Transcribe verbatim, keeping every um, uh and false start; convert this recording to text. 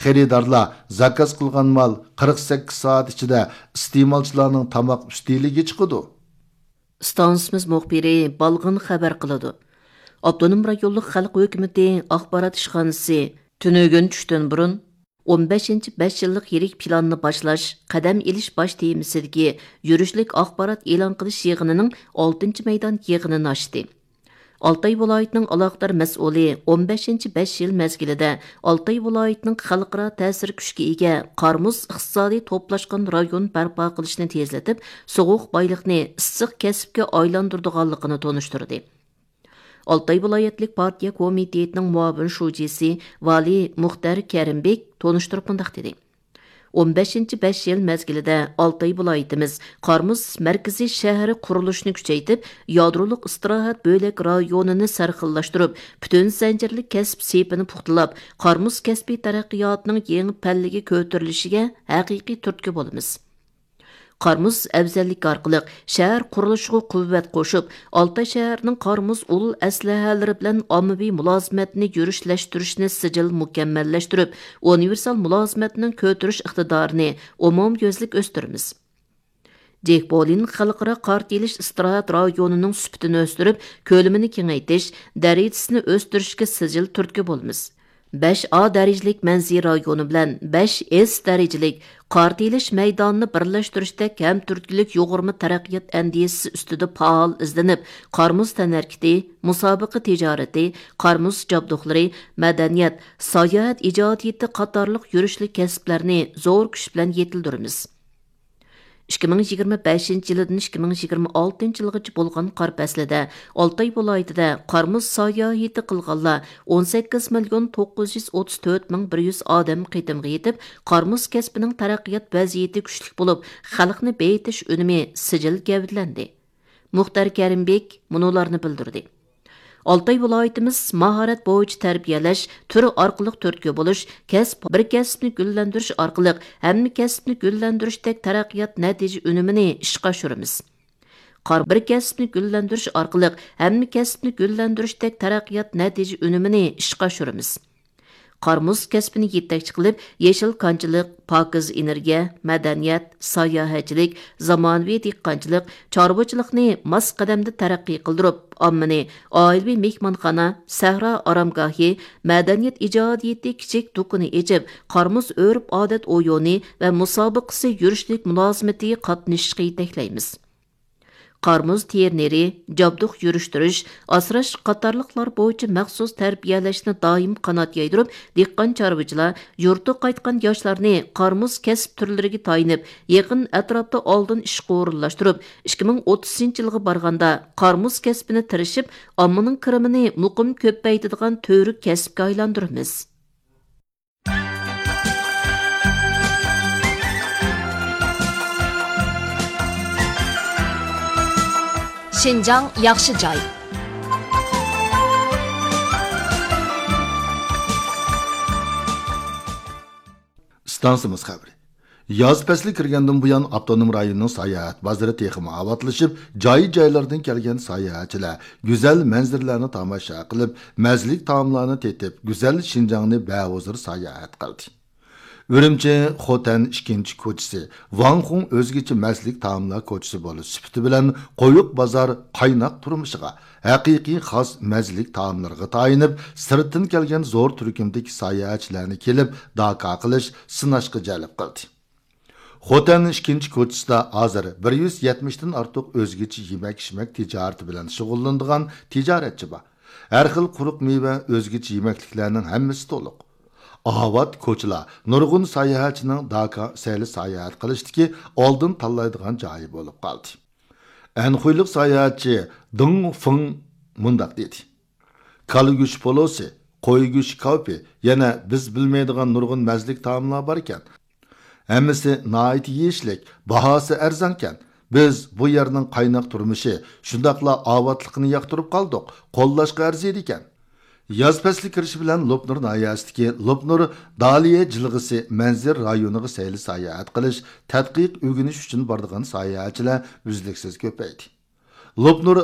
خېرىدارلار زاكاز قىلغان مال قىرىق سەككىز سائەت ئىچىدە ئىستېمالچىلارنىڭ تاماق ئۈستىلىگە چىقىدۇ. ئىستانسىمىز مۇخبىرى بالغىن خەۋەر قىلىدۇ. ئاپتونوم رايونلۇق خەلق ھۆكۈمىتى ئاخبارات ئىشخانىسى تۈنۈگۈن چۈشتىن بۇرۇن ئون بەشىنچى بەش يىللىق يىرىك پىلاننى باشلاش، قەدەم ئېلىش باش تېمىسىدىكى يۈرۈشلۈك ئاخبارات ئېلان قىلىش يىغىنىنىڭ ئالتىنچى مەيدان يىغىنىنى ئاچتى. ئالتاي ۋىلايىتىنىڭ ئالاقىدار مەسئۇلى ئون بەشىنچى بەش يىل مەزگىلىدە ئالتاي ۋىلايىتىنىڭ خەلقئارا تەسىر كۈچكە ئىگە قار-مۇز ئىقتىسادىي توپلاشقان رايون بەرپا قىلىشنى تېزلىتىپ، سوغۇق بايلىقنى ئىسسىق كەسىپكە ئايلاندۇرىدىغانلىقىنى تونۇشتۇردى. ئالتاي ۋىلايەتلىك پارتىيە كومىتېتىنىڭ مۇئاۋىن شۇجىسى ۋالىي مۇختەر كەرىمبېك تونۇشتۇرۇپ مۇنداق دېدى: ئون بەشىنچى بەش يىل مەزگىلىدە ئالتاي ۋىلايىتىمىز قار-مۇز مەركىزىي شەھىرى قۇرۇلۇشىنى كۈچەيتىپ، يادرولۇق ئىستىراھەت بۆلەك رايونىنى سەرخىللاشتۇرۇپ، پۈتۈن زەنجىرلىك كەسىپ سېپىنى پۇختىلاپ، قار-مۇز كەسپى تەرەققىياتىنىڭ يېڭى پەللىگە كۆتۈرۈلۈشىگە ھەقىقىي تۈرتكە بولىمىز. قار-مۇز ئەۋزەللىكى ئارقىلىق شەھەر قۇرۇلۇشىغا قۇۋۋەت قوشۇپ، ئالتاي شەھىرىنىڭ قار-مۇز ئۇل ئەسلىھەلىرى بىلەن ئاممىۋى مۇلازىمەتنى يۈرۈشلەشتۈرۈشنى سىجىل مۇكەممەللەشتۈرۈپ، ئۇنىۋېرسال مۇلازىمەتنىڭ كۆتۈرۈش ئىقتىدارىنى ئومۇميۈزلۈك ئۆستۈرىمىز. جېكبولىن خەلقئارا قار تېيىلىش ئىستىراھەت رايونىنىڭ سۈپىتىنى ئۆستۈرۈپ، كۆلىمىنى كېڭەيتىش، دەرىجىسىنى ئۆستۈرۈشكە سىجىل تۈرتكە بولىمىز. بەش ئا دەرىجىلىك مەنزىرە رايونى بىلەن بەش ئېس دەرىجىلىك قار تېيىلىش مەيدانىنى بىرلەشتۈرۈشتەك ھەم تۈرتكىلىك يۇغۇرما تەرەققىيات ئەندىزىسى ئۈستىدە پائال ئىزدىنىپ، قار-مۇز تەنھەرىكىتى، مۇسابىقە تىجارىتى، قار-مۇز جابدۇقلىرى، مەدەنىيەت، ساياھەت ئىجادىيىتى قاتارلىق يۈرۈشلۈك كەسىپلەرنى زور كۈچ بىلەن يېتىلدۈرىمىز. ئىككى مىڭ يىگىرمە بەشىنچى يىلىدىن ئىككى مىڭ يىگىرمە ئالتىنچى يىلغىچە بولغان قار پەسلىدە ئالتاي ۋىلايىتىدە قار-مۇز ساياھىتى قىلغانلار ئون سەككىز مىليون توققۇز يۈز ئوتتۇز تۆت مىڭ بىر يۈز ئادەم قېتىمغا يېتىپ، قار-مۇز كەسپىنىڭ تەرەققىيات ۋەزىيىتى كۈچلۈك بولۇپ، خەلقنى بېيىتىش ئۈنۈمى سىجىل گەۋدىلەندى. مۇختەر كەرىمبېك مۇنۇلارنى بىلدۈردى. ئالتاي ۋىلايىتىمىز ماھارەت بويىچە تەربىيەلەش، تۈر ئارقىلىق تۈرتكە بولۇش، كەسىپ، بىر كەسىپنى گۈللەندۈرۈش ئارقىلىق ھەممە كەسىپنى گۈللەندۈرۈشتەك تەرەققىيات نەتىجە ئۈنۈمىنى ئىشقا ئاشۇرىمىز. قار-، بىر كەسىپنى گۈللەندۈرۈش ئارقىلىق ھەممە كەسىپنى گۈللەندۈرۈشتەك تەرەققىيات نەتىجە ئۈنۈمىنى ئىشقا ئاشۇرىمىز. قار-مۇز كەسپىنى يېتەكچى قىلىپ، يېشىل كانچىلىق، پاكىز ئېنېرگىيە، مەدەنىيەت، ساياھەتچىلىك، زامانىۋى دېھقانچىلىق، چارۋىچىلىقنى ماس قەدەمدە تەرەققىي قىلدۇرۇپ، ئاممىنى ئائىلىۋى مېھمانخانا، سەھرا ئارامگاھى، مەدەنىيەت ئىجادىيىتى كىچىك دۇكىنى ئېچىپ، قار-مۇز ئۆرپ-ئادەت ئويۇنى ۋە مۇسابىقىسى يۈرۈشلۈك مۇلازىمىتىگە قاتنىشىشقا يېتەكلەيمىز. قار-مۇز تېرىنېرى، جابدۇق يۈرۈشتۈرۈش، ئاسراش قاتارلىقلار بويىچە مەخسۇس تەربىيەلەشنى دائىم قانات يايدۇرۇپ، دېھقان-چارۋىچىلار يۇرتىغا قايتقان ياشلارنى قار-مۇز كەسىپ تۈرلىرىگە تايىنىپ، يېقىن ئەتراپتا ئالدىن ئىشقا ئورۇنلاشتۇرۇپ، ئىككى مىڭ ئوتتۇزىنچى يىلغا بارغاندا قار-مۇز كەسپىنى تىرىشىپ، ئاممىنىڭ كىرىمىنى مۇقىم كۆپەيتىدىغان تۈۋرۈك كەسىپكە ئايلاندۇرىمىز. شىنجاڭ ياخشى جاي. ئىستانسىمىز خەۋىرى. ياز پەسلى كىرگەندىن بۇيان، ئاپتونوم رايوننىڭ ساياھەت بازىرى تېخىمۇ ئاۋاتلىشىپ، جاي-جايلاردىن كەلگەن ساياھەتچىلەر گۈزەل مەنزىرىلەرنى تاماشا قىلىپ، مەززىلىك تائاملارنى تېتىپ، گۈزەل شىنجاڭنى بەھۇزۇر ساياھەت قىلدى. ئۈرۈمچى خوتەن ئىككىنچى كوچىسى، ۋاڭخۇڭ ئۆزگىچە مەززىلىك تائاملار كوچىسى بولۇش سۈپىتى بىلەن، قويۇق بازار قايناق تۇرمۇشىغا، ھەقىقىي خاس مەززىلىك تائاملىرىغا تايىنىپ، سىرتتىن كەلگەن زور تۈركۈمدىكى ساياھەتچىلەرنى كېلىپ داكا قىلىش، سىناشقا جەلپ قىلدى. خوتەن ئىككىنچى كوچىسىدا ھازىر بىر يۈز يەتمىشتىن ئارتۇق ئۆزگىچە يېمەك-ئىچمەك تىجارىتى بىلەن شۇغۇللىنىدىغان تىجارەتچى بار. ھەر خىل قۇرۇق مېۋە، ئۆزگىچە يېمەكلىكلەرنىڭ ھەممىسى تولۇق. ئاۋات كوچىلار نۇرغۇن ساياھەتچىنىڭ داكا سەيلە ساياھەت قىلىشتىكى ئالدىن تاللايدىغان جايى بولۇپ قالدى. ئەنخۇيلۇق ساياھەتچى دېڭ فېڭ مۇنداق دېدى: كالا گۆشى پولۇسى، قوي گۆشى كاۋىپى، يەنە بىز بىلمەيدىغان نۇرغۇن مەززىلىك تائاملار باركەن. ھەممىسى ناھايىتى يېيىشلىك، باھاسى ئەرزانكەن. بىز بۇ يەرنىڭ قايناق تۇرمۇشى، شۇنداقلا ئاۋاتلىقىنى ياقتۇرۇپ قالدۇق، قوللاشقا ئەرزىيدىكەن. ياز پەسلى كىرىشى بىلەن لوپنۇر ناھىيەسىدىكى لوپنۇر دالىيە جىلغىسى مەنزىرە رايونىغا سەيلە ساياھەت قىلىش، تەتقىق ئۆگىنىش ئۈچۈن بارىدىغان ساياھەتچىلەر ئۈزلۈكسىز كۆپەيدى. لوپنۇر